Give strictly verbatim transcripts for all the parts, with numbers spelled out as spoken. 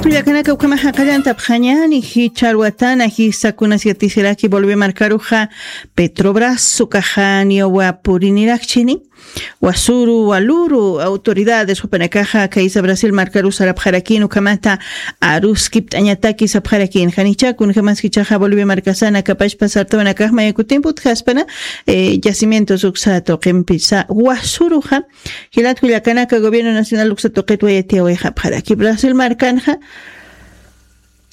Kullakanaka, ukhama jaqallantapxañani jichharwatana jisakunas yatisiraki Bolivia markaruxa Petrobras ukaxaniwa purinirakchini. Wasuru waluru autoridades jupanakaxa kaysa Brasil markaru sarapxarakin ukhamata aruskipt'añataki sapxarakin. Janicha kunjamas jichaxa Bolivia markasana kapashpa sartawanakax mayakutimput jaspana, eh, yacimientos uksa tuqimpisa wasuruxa. Jilat kullakanaka, gobierno nacional uksa tuqit wayatiyawayxapxaraki Brasil markanxa,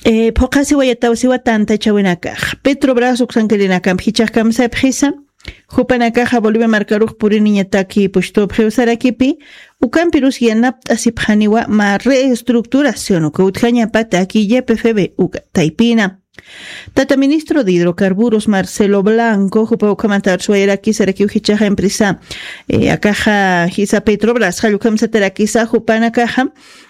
eh, phuqhasiwayatawsiwa tantachawinakax Petrobras uksankirinakampi jichax kamsaypxisa. Jupanakaxa Bolivia markarux puriniñataki pushtup jiwsarakipi, ukampirus yanapt'asipxaniwa mä reestructuración uka utjañapataki Y P F B uka taypina. Tata ministro de Hidrocarburos Marcelo Blanco jupa ukhamata arsuwayaraki sarakiw jichaxa empresa, eh, akaxa jisa Petrobras jallukhamsatarakisa jupanakaxa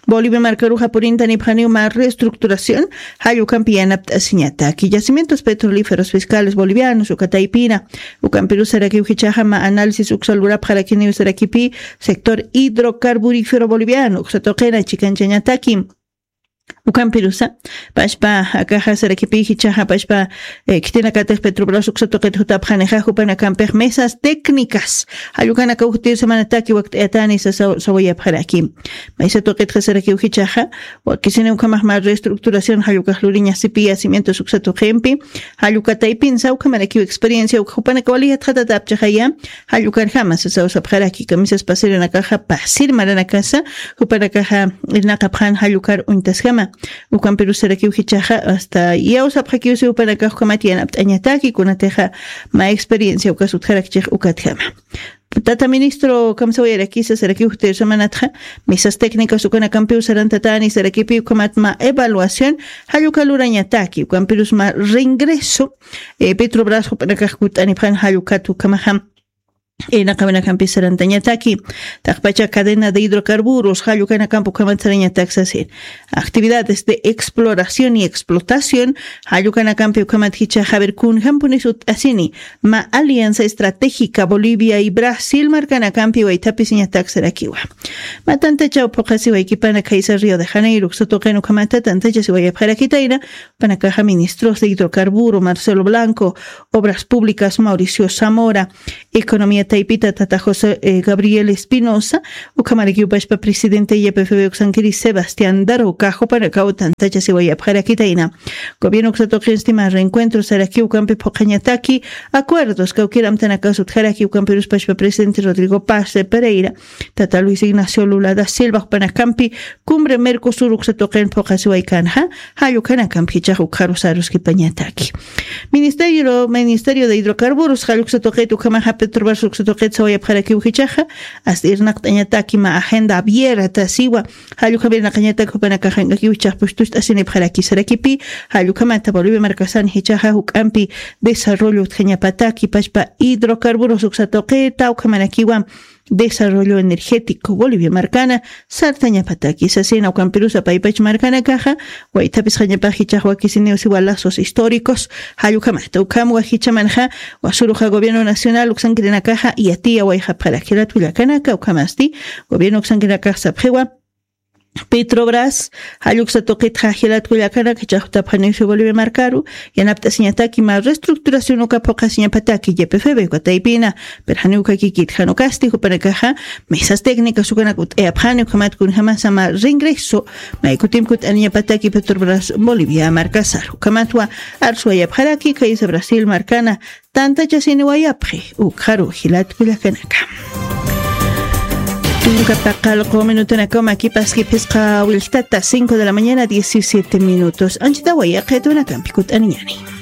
Bolivia markaruxa purintanipxaniw mä reestructuración jallukampi yanapt'asiñataki yacimientos petrolíferos fiscales bolivianos uka taypina. Ukampirus sarakiw jichaxa mä análisis uksa lurapxarakiniw sarakipi sector hidrocarburífero boliviano uksa tuqina chikanchañataki. Ukampirusa pashpa akaxa sarakipi jichaxa pashpa, eh, khitinakatix Petrobras uksa tuqit jutapxanixa jupanakampix mesas técnicas jallukanaka ujtir semanataki wakt'ayatani sasa sawayapxaraki. Maysa tuqitxa sarakiw jichaxa wakisini ukhamax mä reestructuración jallukax luriñasipi yacimientos uksa tuqimpi. Jallukataypinsa ukhamarakiw experiencia uk jupanaka wali yatxatatapchaxaya. Jallukarjama sasaw sapxaraki kamisas pasirinakaxa pasir maranakasa jupanakaxa irnaqapxan jallukar uñtasjama. Ukampirus sarakiw jichaxa hasta yawsapxakiwsi jupanakax ukhamat yanapt'añataki kunatixa mä experiencia ukas utjarakchix ukatjama. Tata ministro kamsawayarakisa sarakiw jutir semanatxa mesas técnicas ukanakampiw sarantatani sarakipi ukhamat mä evaluación jalluka lurañataki ukampirus mä reingreso, eh, Petrobras jupanakax kut'anipxan jallukat ukhamaxa, eh, naqawinakampis sarantañataki. Taqpacha cadena de hidrocarburos jallukanakampi ukhamat sarañatak sasin actividades de exploración y explotación jallukanakampi ukhamat jichaxa a ver kunjampunis ut'asini mä alianza estratégica Bolivia y Brasil markanakampi waythapisiñatak sarakiwa. Mä tantachaw phuqhasiwaykipana khaysa Río de Janeiro uksa tuqin ukhamata tantachasiwayapxarakitayna. Panakaxa ministros de hidrocarburo Marcelo Blanco, obras públicas Mauricio Zamora, economía taypita tata José, eh, Gabriel Espinosa, ukhamarakiw pashpa presidente Y P F B uksankiri Sebastián Daroca jupanakaw tantachasiwayapxarakitayna. Gobierno uksa tuqinsti mä reencuentro sarakiw ukampi phuqhañataki acuerdos kawkir amtanakas utjaraki ukampirus pashpa presidente Rodrigo Paz de Pereira, tata Luis Ignacio Lula da Silva jupanakampi cumbre Mercosur uksa tuqin phuqhasiwaykanxa. Jallukanakampi jichax ukxarus aruskipañataki. Ministerio, Ministerio de Hidrocarburos jalluksa tuqit ukhamaxa Petrobras uksa tuqit sawayapxarakiw jichaxa hasta irnaqt'añataki mä agenda abierta siwa. Jallukhamir naqañatak jupanakaxankakiw jichax pushtust'asinipxaraki sarakipi. Jallukhamata Bolivia markasan jichaxa juk'ampi desarrollo utjañapataki pashpa hidrocarburos uksa tuqita ukhamarakiwa desarrollo energético Bolivia markana sartañapataki sasina. Ukampirusa paypach markanakaxa waythapisxañapax jichax wakisiniw siwa lazos históricos. Jallukhamata ukhamwa jichamanxa wasuruxa gobierno nacional uksankirinakaxa yatiyawayxapxarak jilat kullakanaka ukhamasti gobierno uksankirinakax sapxiwa Petrobras jalluksa tuqitxa jilat kullakanaka jichax jutapxaniw si Bolivia markaru yanapt'asiñataki mä reestructuración uka phuqhasiñapataki Y P F B uka taypina. Pirjaniw ukakikit jan ukasti jupanakaxa mesas técnicas ukanak ut'ayapxani ukhamat kunjamasa mä reingreso maykutimpi kut'aniñapataki Petrobras Bolivia markasar ukhamatwa arsuwayapxaraki khaysa Brasil markana tantachasiniwayapxi ukxaru jilat kullakanaka. Tunka paqallqu minutanakaw makipaski phisqa willtata cinco de la mañana diecisiete minutos. Anchitawa yaqhitunakampi kut'aniñani.